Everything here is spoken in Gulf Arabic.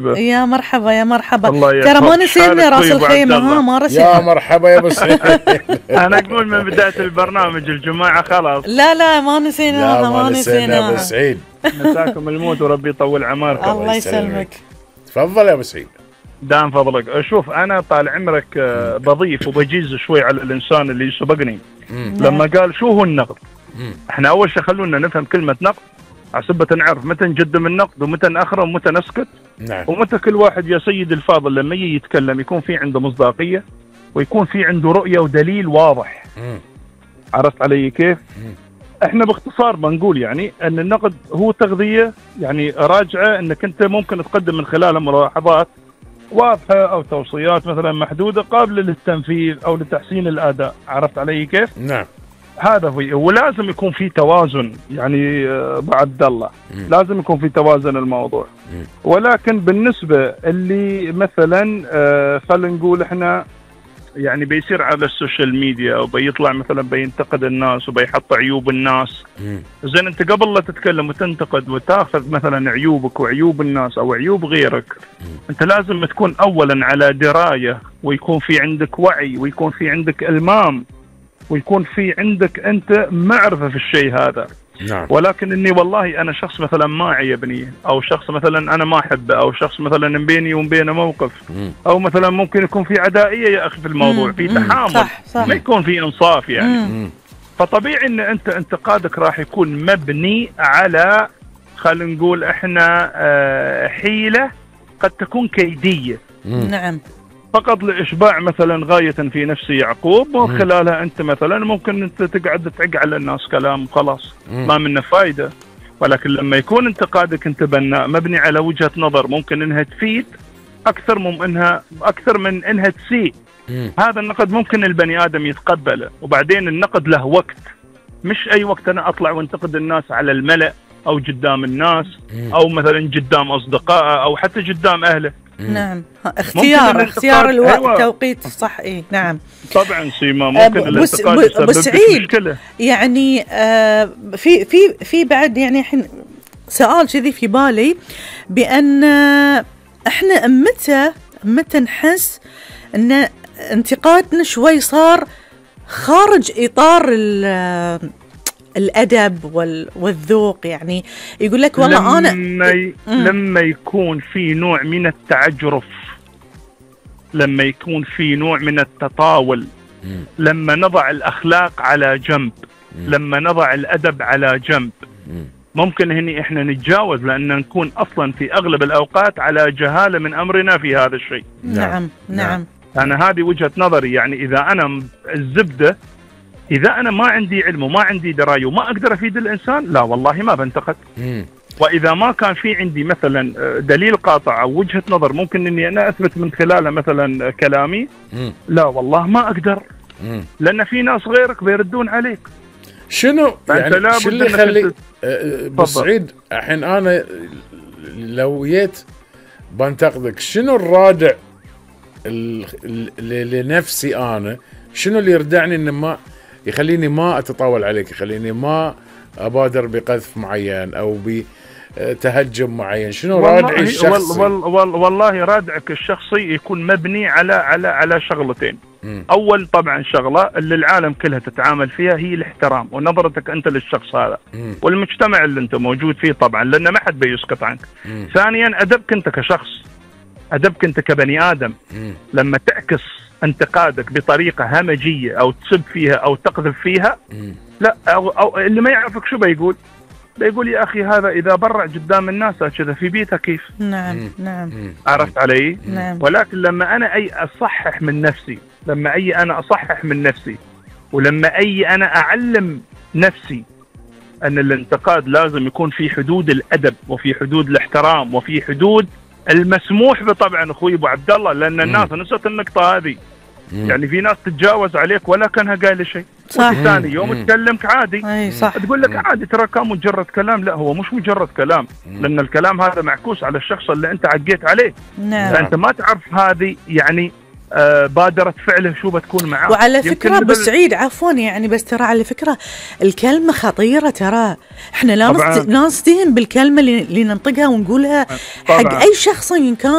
يا مرحبا يا مرحبا. الله ترى ما يحفظك. نسينا راس الخيمة، ها ما يا رسينا. مرحبا يا ابو سعيد. انا اقول من بداية البرنامج الجماعة خلاص. لا ما نسيناها، لا ما نسينا يا ابو نسيناها. سعيد. مساكم الموت وربي يطول عماركم. الله يسلمك. تفضل يا ابو سعيد. دام فضلك. شوف انا طال عمرك بضيف وبجيز شوي على الانسان اللي سبقني لما قال شو هو النقد. احنا اول شيء خلونا نفهم كلمة نقد عصبة نعرف متى نقدم النقد ومتى نأخره ومتى نسكت. نعم. ومتى كل واحد يا سيد الفاضل لما يجي يتكلم يكون في عنده مصداقية ويكون في عنده رؤية ودليل واضح. عرفت علي كيف؟ احنا باختصار بنقول يعني ان النقد هو تغذية يعني راجعة انك انت ممكن تقدم من خلالها ملاحظات واضحة او توصيات مثلا محدودة قابلة للتنفيذ او لتحسين الاداء. عرفت علي كيف؟ نعم. هذا هو، ولازم يكون في توازن يعني بعد الله لازم يكون في توازن الموضوع. ولكن بالنسبة اللي مثلا خلينا نقول احنا يعني بيصير على السوشيال ميديا وبيطلع مثلا بينتقد الناس وبيحط عيوب الناس. زين انت قبل لا تتكلم وتنتقد وتاخذ مثلا عيوبك وعيوب الناس او عيوب غيرك انت لازم تكون اولا على دراية ويكون في عندك وعي ويكون في عندك المام ويكون في عندك انت معرفة في الشيء هذا. نعم. ولكن اني والله انا شخص مثلا ما عيبني او شخص مثلا انا ما احبه او شخص مثلا بيني وبينه موقف او مثلا ممكن يكون في عدائية يا اخي في الموضوع في تحامل صح. ما يكون في انصاف يعني. فطبيعي ان انت انتقادك راح يكون مبني على خلينا نقول احنا حيلة قد تكون كيدية. نعم. فقط لإشباع مثلا غاية في نفس يعقوب ومن خلالها أنت مثلا ممكن أنت تقعد تعق على الناس كلام خلاص ما منه فايدة. ولكن لما يكون انتقادك أنت بناء مبني على وجهة نظر ممكن أنها تفيد أكثر من أنها تسيء هذا النقد ممكن البني آدم يتقبله. وبعدين النقد له وقت، مش أي وقت أنا أطلع وانتقد الناس على الملأ أو قدام الناس أو مثلا قدام أصدقائه أو حتى قدام أهله. نعم. اختيار التوقيت صح. ايه نعم طبعا سيما ممكن الانتقاد يسبب سعيد مشكلة. يعني في بعد يعني الحين سؤال كذي في بالي بأن احنا متى نحس ان انتقادنا شوي صار خارج اطار الأدب والذوق. يعني يقول لك والله لما يكون في نوع من التعجرف، لما يكون في نوع من التطاول، لما نضع الأخلاق على جنب، لما نضع الأدب على جنب ممكن هني احنا نتجاوز لأن نكون أصلا في أغلب الأوقات على جهالة من أمرنا في هذا الشيء. نعم. أنا هذه وجهة نظري. يعني إذا أنا الزبدة إذا أنا ما عندي علم وما عندي دراية وما أقدر أفيد الإنسان لا والله ما بنتقد. وإذا ما كان في عندي مثلا دليل قاطع أو وجهة نظر ممكن أني أنا أثبت من خلالها مثلا كلامي لا والله ما أقدر لأن في ناس غيرك بيردون عليك. شنو يعني شو اللي يخلي بسعيد الحين أنا لو جيت بنتقدك شنو الرادع لنفسي أنا شنو اللي يردعني إن ما يخليني ما أتطاول عليك يخليني ما أبادر بقذف معين أو بتهجم معين؟ شنو رادعي الشخصي؟ والله رادعك الشخصي يكون مبني على شغلتين. أول طبعا شغلة اللي العالم كلها تتعامل فيها هي الاحترام ونظرتك أنت للشخص هذا والمجتمع اللي أنت موجود فيه طبعا لأن ما حد بيسقط عنك. ثانيا أدبك أنت كشخص، أدبك أنت كبني آدم. لما تعكس انتقادك بطريقة همجية أو تسب فيها أو تقذف فيها لا أو اللي ما يعرفك شو بيقول يا أخي هذا إذا برع قدام الناس كذا في بيته كيف. نعم. عرفت علي؟ نعم. ولكن لما أنا أصحح من نفسي، لما أنا أصحح من نفسي ولما أنا أعلم نفسي أن الانتقاد لازم يكون في حدود الأدب وفي حدود الاحترام وفي حدود المسموح بطبعا أخوي أبو عبد الله لأن الناس نسيت النقطة هذه. يعني في ناس تتجاوز عليك ولا كانها قايله شيء ثاني يوم تكلمك عادي صح. تقول لك عادي ترى كان مجرد كلام. لا هو مش مجرد كلام لأن الكلام هذا معكوس على الشخص اللي أنت عقيت عليه. نعم. فأنت ما تعرف هذه يعني بادرة فعله شو بتكون معاه. وعلى فكرة أبو سعيد عفوا يعني بس ترى على فكرة الكلمة خطيرة، ترى احنا لا نستهين بالكلمة اللي ننطقها ونقولها حق أي شخص إن كان.